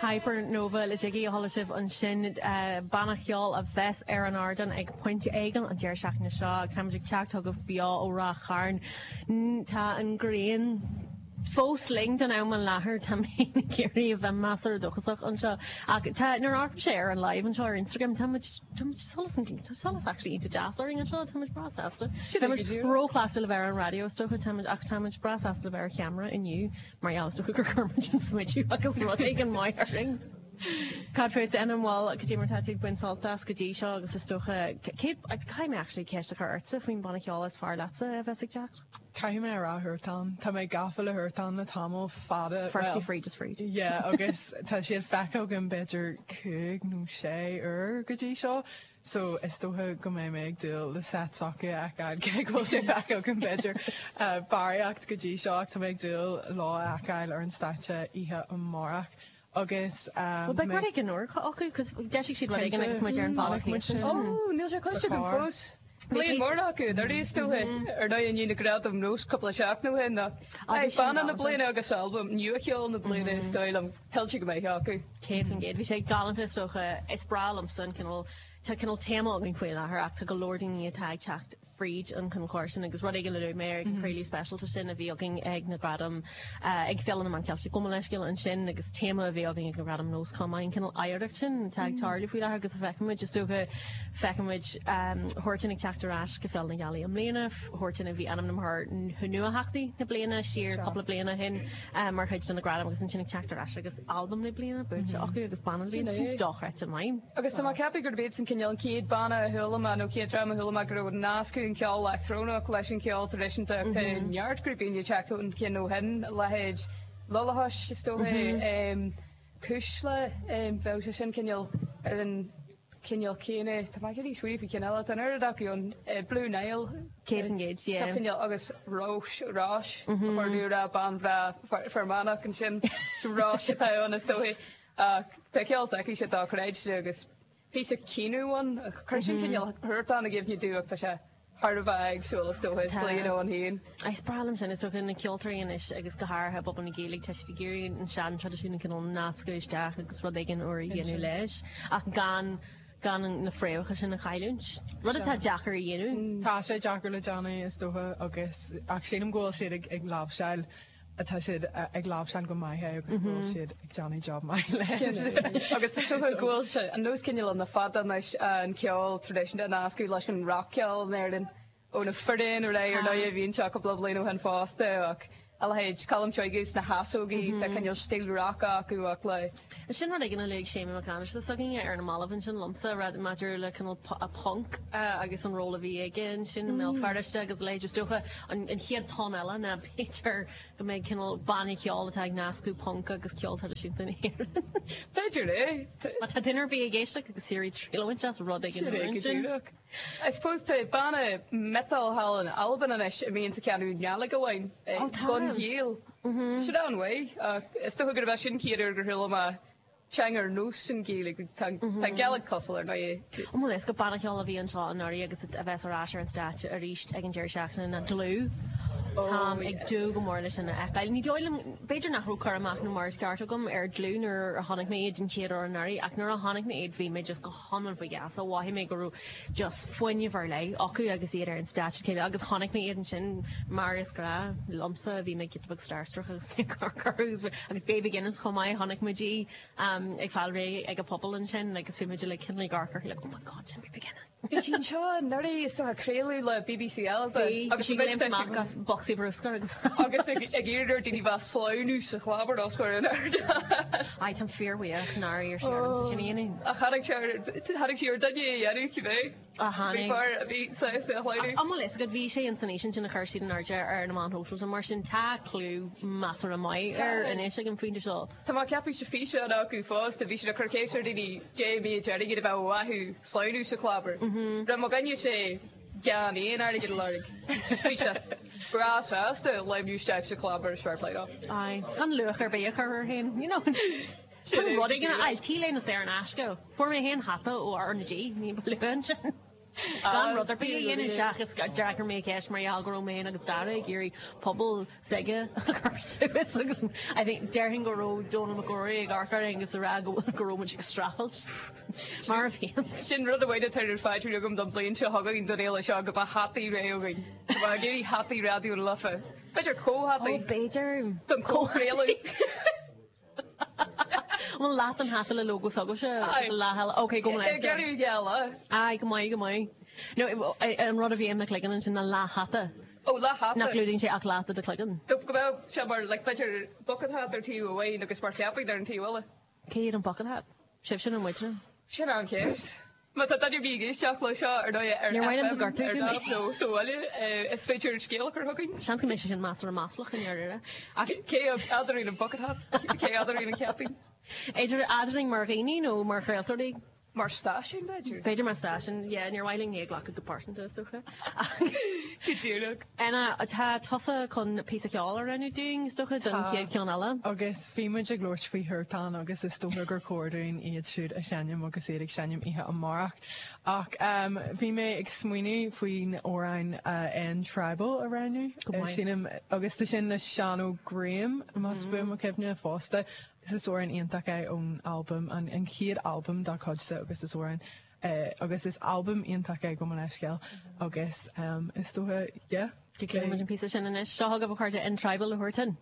Hypernova le Jiggy a chuala sibh ansin, banna cheoil a bheas ar an ardán ag pointe éigin an deireadh seachtaine seo agus táimid ag teacht chugaibh beo ó Ráth Chairn. Tá an ghrian fós linn don am i láthair, tá mé ag iarraidh a bheith measartha dóchasach anseo ach tá, nuair a amharcaimse ar an live anseo ar Instagram, tá muid, tá muid solas an, tá solas actually iontach deas orainn anseo, tá muid breá sásta. Tá muid róchleachta le bheith ar an raidió is dócha, tá muid, ach tá muid breá sásta le bheith ar cheamara inniu. Mar gheall is dócha gur chuir muid an smideadh agus rud éigin maith orainn. Cad fút, an bhfuil, cad é mar tá tú ag baint sult as go dtí seo agus is dócha, cé, caithfidh mé actually ceist a chur ortsa faoin banna ceoil is fearr leatsa a bheas ag teacht? Caithfidh mé a rá Huartan. Tá mé gafa le Huartan le tamall fada, Firstly fríd is fríd. Yeah, agus tá siad feicthe agam b'fhéidir cúig nó sé uair go dtí seo. So, is dócha go mbeidh mé ag dúil le set s'acu a fheiceáil, cé go bhfuil sé feicthe agam b'fhéidir barraíocht go dtí seo ach tá mé ag dúil leo a fheiceáil ar an stáitse oíche amárach agus Bhuel, beidh rud éigin úr acu, cos d'eisigh siad rud éigin agus muid ar an bhealach thíos ansin. Ó, níl sé cloiste agam fós. Bliain mór acu anuraidh is dócha, ar ndóigh i ndiaidh na Gradaim Nós cúpla seachtain ó shin ach banna na bliana agus albam nua-cheoil na bliana is dóigh liom. Tuillte go maith acu. 100%. Bhí sé galánta is dócha. Is breá liomsa an cineál, tá cineál téama againn faoi láthair ach tá go leor daoine atá ag teacht fríd an cineál cóir sin agus rud éigin a luaigh mé ar an craoladh speisialta sin a bhí againn ag na Gradaim, ag Féile na Meán Ceilteach, gabh mo leithscéal ansin agus téama a bhí againn ag na Gradaim Nós chomh maith, an cineál oidhreacht sin atá ag tarlú faoi láthair agus a feicimid, is dócha, feicimid Huartan ag teacht ar ais go Féile na Gealaí i mbliana, Huartan a bhí ainmnithe mar nuatheachtaí na bliana siar cúpla bliain ó shin. mar chuid de na gradaim agus ansin ag teacht ar ais agus albam na bliana buaite acu agus banna na bliana, sin dochreidte maith. Agus tá mé ag ceapadh gurb iad san cineál an chéad banna a chuala mé nó chéad dream a chuala mé go raibh nascadh an ceol leictreonach leis an cheol traidisiúnta ach tá neart grúpaí ag teacht chun cinn ó shin, a leithéid Lullachais is dócha, Cuisle, bheadh sé sin cineál ar an cineál céanna. Tá mé ag iarraidh smaoineamh faoi cheann eile. Tá an oiread acu ann. Blue Nile. 100%, yeah. Sa chineál agus Róis, Róis, ba chóir domh a rá, bean bhreá Fear Manach ansin. So Róis atá ann is dóigh. Ach tá ceol s'aici dochreidte agus píosa caoineadh ann. Chuir sin cineál Huartan i gcuimhne domh ach tá sé thar a bheith éagsúil is dócha, is slí ann féin. Is breá liom sin, is dócha na ceoltóirí anois agus go háirithe i bpobal na Gaeilge, tá siad ag iarraidh an sean-traidisiún a cineál nascadh isteach agus rud éigin úr a dhéanamh leis ach gan gan na fréamhacha sin a chailliúint. Rud atá deacair a dhéanamh. Tá sé deacair le déanamh is dócha agus ach sílim go bhfuil siad ag ag láimhseáil atá siad ag láimhseáil go maith é agus go bhfuil siad ag déanamh job maith leis. Agus is dócha go bhfuil sé an nós cineál ann le fada anois an ceol traidisiúnta a nascadh leis an rac-cheol in Éirinn ó na foireann ar aghaidh ar ndóigh a bhí anseo cúpla bliain ó shin fosta ach a leithéid Colm Seoige is na hEasógaí tá cineál stíl rac acu ach le Sin rud éigin a luaigh Séamus Mac Aindreasa s'againne ar na mallaibh ansin liomsa, rud maidir le cineál punk agus an ról a bhí aige ansin i mBéal Feirste agus a leithéid. Is dócha an chéad tonn eile ná b'fhéidir go mbeidh cineál banna ceoil atá ag nascadh punk agus ceol traidisiúnta na hÉireann. B'fhéidir é. Má tá duine ar bith ag éisteacht agus iarraidh triail a bhaint as rud éigin úr ansin. I suppose tá banna miotal thall in Albain anois a mbíonn ag canadh Gàidhlig amháin, Gun Gàidheal. Tá siad an-mhaith ach is dócha gurb é sin chéad uair gur chuala mé teanga ar nós an Ghaeilge. Tá an Gàidhlig cosúil ar ndóigh. An bhfuil a fhios agat banna ceoil a bhí anseo anuraidh agus a bheas ar ais ar an stáitse arís ag an deireadh seachtaine ná Dlúth. Táim ag dúil go mór leis sin a fheiceáil. Ní dóigh liom, b'fhéidir nach raibh cur amach nó mar is ceart agam ar Dlúth nuair a chonaic mé iad den chéad uair anuraidh ach nuair a chonaic mé iad bhí mé just go hiomlán faoi gheasa. Mhothaigh mé go raibh just fuinneamh ar leith acu agus iad ar an stáitse céanna agus chonaic mé iad ansin mar is gnách liomsa bhí mé giota beag starstruck agus mé ag amharc orthu agus agus Baby Guinness chomh maith chonaic muid í ag fáil réidh ag an phuball ansin agus bhí muid uilig cineál ag amharc uirthi like oh my god sin Baby Guinness. Bhí sí anseo anuraidh is dócha craoladh le BBC Alba agus bhí sí ag léimt amach as bocsaí bruscair agus agus ag iarraidh ar daoine bheith sleamhnú sa chlabhar os comhair an ard. Aye, táim fíorbhuíoch nár iarr sí ormsa sin a dhéanamh. Ach tháinig sé ar tháinig sí ar duine a dhéanamh cibé. Á tháinig. Bhí fear a bhí sásta a shleamhnú. An bhfuil fhios agat bhí sé ins an fhíseán sin a chuir siad in airde ar na meáin shóisialta mar sin tá clú measartha maith air anois ag an phointe seo. Tá mé ag ceapadh sa físeán acu fosta, bhí siad ag cur ceist ar daoine dé mí airgead a bheadh uathu sleamhnú sa chlabhar. Raibh mo dhuine sé gan aon airgead a lorg. Bhí sé breá sásta sleamhnú isteach sa chlabhar is fair play dó. Aye, gan luach ar bith a chur air féin, you know. Sin rud éigin a fháil, T-léine saor in aisce. Fuair mé féin hata ó R na G, ní ba luaithe ansin. Gan rud ar bith a dhéanamh seachas d'fhreagair mé an cheist mar gheall go raibh mé féin agus Dara ag iarraidh puball s'aige a chur suas agus I think déarfainn go raibh Dónal Mac Ruairí ag amharc orainn agus ag rá go go raibh muid ag streachailt mar a bhíonn. Sin rud amháin atá ar pháipéar agam don bhliain seo chugainn don fhéile seo go mbeadh hataí réidh againn. Go mbeadh ag iarraidh hataí Raidió na Life. B'fhéidir comhhataí. Ó b'fhéidir. Don chomhchraoladh. Bhfuil leath den hata le lógó s'agaibhse agus leath eile? Ok, go maith. Ag iarraidh geall. Aye, go maith, go maith. No, an rud a bhí i mo chloigeann ansin ná leath hata. Ó, leath hata. Nach gclúdaíonn sé ach leath de do chloigeann. Go mbeadh sé mar, like, b'fhéidir bucket hat ar taobh amháin agus mar chaipín ar an taobh eile. Cé hiad an bucket hat? Sibhse nó muidne? Sin an cheist. Má tá duine ar bith ag éisteacht le seo, ar ndóigh, ar Níor mhaith liom go FM, gcuirtear ar fúm é. DAB nó sa bhaile, is féidir scéal a chur chugainn. Seans go mbeidh sé sin measartha maslach i ndáiríre. Ach cé eadrainn an bucket hat? Cé eadrainn an chaipín? Idir eadrainn mar dhaoine nó mar chraoltóirí? Mar stáisiún, b'fhéidir? B'fhéidir mar stáisiún, yeah, níor mhaith linn é a ghlacadh go pearsanta, is dócha. Go díreach. Anna, tá tusa chun píosa ceoil a roghnú dúinn, is dócha, don chéad cheann eile. Agus bhí muid ag labhairt faoi Huartan agus is dócha gur chóir dúinn iad siúd a sheinm agus iad ag seinm oíche amárach. Ach bhí mé ag smaoineamh faoin amhrán End Tribal a roghnú. Go maith. Sílim, agus tá sin le Seán Ó Graham, más buan mo chuimhne, fosta. Agus is amhrán iontach é ón albam, an chéad albam dá chuidse agus is amhrán agus is albam iontach é gabh mo leithscéal agus is dócha, yeah. Go gcloisfidh muid an píosa sin anois. Seo chugaibh a chairde End Tribal le Huartan.